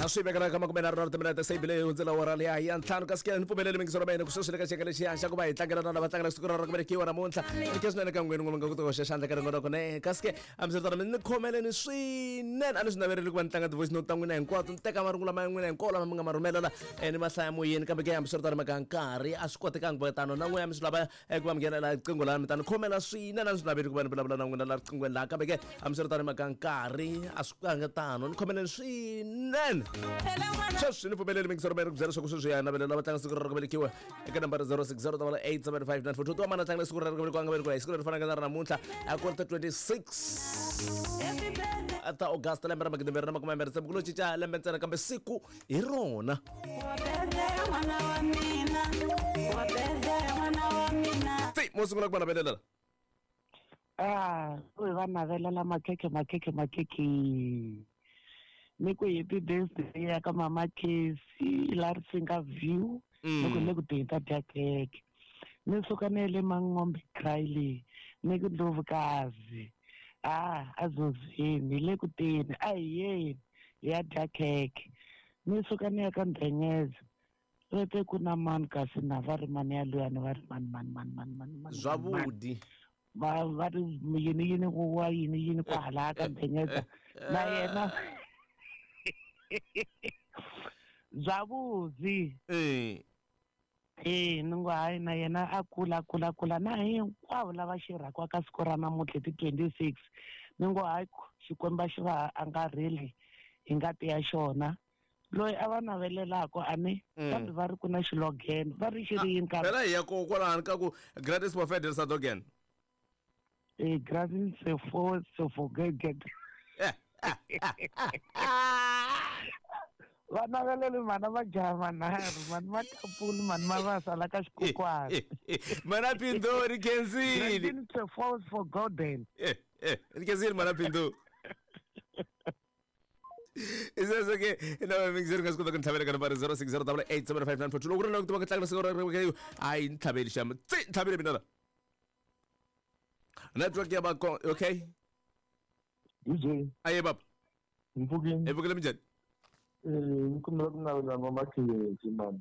A swi vekela ka 30 timinete se bile hundzela wora liya ya 5. Kasi ke ni pfumeleli mingiso ra mina ku sweswi le ka xiyenge lexiya xa ku va hi tlangela na lava tlangela siku ra ku velekiwa namuntlha. Ni khe swinene ka n'wini n'we mi nga kota ku hoxa xandla ka rin'we kone. Kasi ke hambiswiritano mi ni khomeleni swinene, a ni swi navereli ku va ni tlanga ti-voice note ta n'wina hinkwato, ni teka marungula ma n'wina hinkwawo lama mi nga ma rhumela la ni ma hlaya moyeni, kambe ke hambiswiritano mhaka nkarhi a swi kotekangi ku va tano. Na n'wina mi swi lava ku va mi nghena la riqingho laha, mi ta ni khomela swinene, a ni swi naveli ku va ni vulavula na n'wina la riqinghweni laha, kambe ke hambiswiritano mhaka nkarhi a swi kanga tano. Ni khomeleni swinene. Sweswi ni pfumeleli mingisero mi ri ku byela leswaku sweswi ya navelela va tlanga siku ra ku velekiwa eka nambara 060 875 942. Tiwa mana tlangela siku ra ku velekiwa, nga velekiwa hi siku leri fanaka na ra namuntlha, a ku ri ta 26 ta August lembe ra 2026. Ku lo cinca lembe ntsena, kambe siku hi rona. Ti mo sungula ku va navelela. Ah, ku hi va navelela makhekhe, makhekhe, makhekhe. Ni ku happy birthday ya ka mama Casey la Risinga View. Ni ku le ku teni ta dya khekhe. Ni suka ni ye le Mangombe Cryly. Ni ku Ndlovukazi. Ah, a zozini le ku teni, a hi yeni hi ya dya khekhe. Ni suka ni ya ka Ndhenyeza. Rete ku na mani kasi na va ri mani ya luyani, va ri mani mani mani mani mani mani. Zwavhudi. Va va ri yini yini ku wa yini yini kwahala ka Ndhenyeza na yena. Zwavhudzi. Ni ngo hayi na yena a kula kula kula na hinkwavo lava xirhakiwa ka siku ra namuntlha ti 26. Ni ngo hayi, Xikwembu xi va angarheli hi ngati ya xona. Loyi a va navelelaka a ni kambe va ri ku na xilogene, va ri xi ri yini kambe? Phela hi ya ko kwalani ka ku gratis for federal sadogen. Gratis sefo sefo gege. Va naveleli mana va jaha manharhu, mani makapuli, mani mavasa la ka xikukwana. Mana Pindori khensile. Gratis sefo for golden. Ni khensile mana Pindori. Isese ke na mingiseri nga swi kota ku ni tlhavela ka nambara 060 875 942. Loko ku ri na ku tiva ku tlangela siku ra a yi ni tlhaveli xama tsi ni tlhavele mina la network ya va okay. DJ. Aye baba. Mpfukeni. Hi pfukile, minjhani? Ni kombela ku navela mama Khensi mani.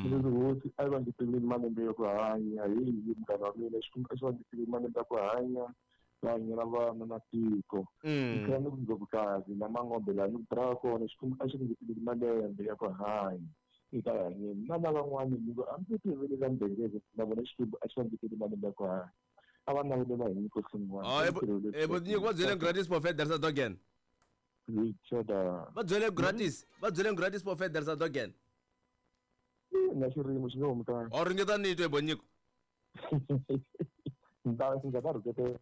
Leswi hosi a yi va ngeteleli malembe ya ku hanya, hi munghana wa mina, Xikwembu a xi va ngeteleli malembe ya ku hanya, va hanyela vana na tiko. Ni tlhela ni ku Ndlovukazi na Mangombe laha ni ku tirhaka kona, Xikwembu a xi ku ngeteleli malembe ya ku hanya eka hanyeni. Na lavan'wani ni ku a ndzi tivelela Ndengeze, na vona Xikwembu a xi va ngeteleli malembe ya ku hanya. A va navelela hi nyiko swin'wana. Oh, nyiko va byele gratis for federal sadogen. Richard. Va byele gratis, va byele gratis for federal sadogen. Na xirimo xi nge humi kahle. O ringeta ni twe bonyiko. Ndza ta rhuketela.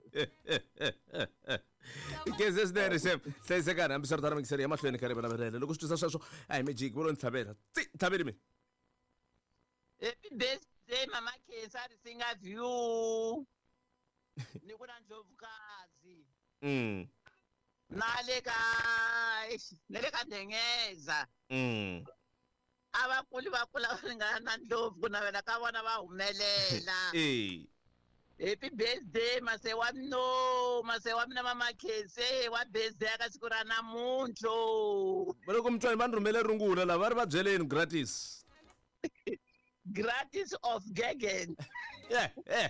Keze swinene xem hlayisekani. Hambiswiritano mingiseri ya mahlweni ka riva navelela loko swi twisa sweswo a hi magic vo lo ni tlhavela tsi tlhaveli mina. Happy birthday mama Khensa Risinga View. Ni ku na Ndlovukazi. Na le ka eish, na le ka Ndengeza. A va kuli va kula va ringana na Ndlovu, ku navela ka vona va humelela. Happy birthday mase wa no mase wa mina mama Khense wa birthday ka siku ra namuntlha. Va loko mutswari va ni rhumele rungula lava va ri va byeleni gratis. Gratis of Gegen. Yeah.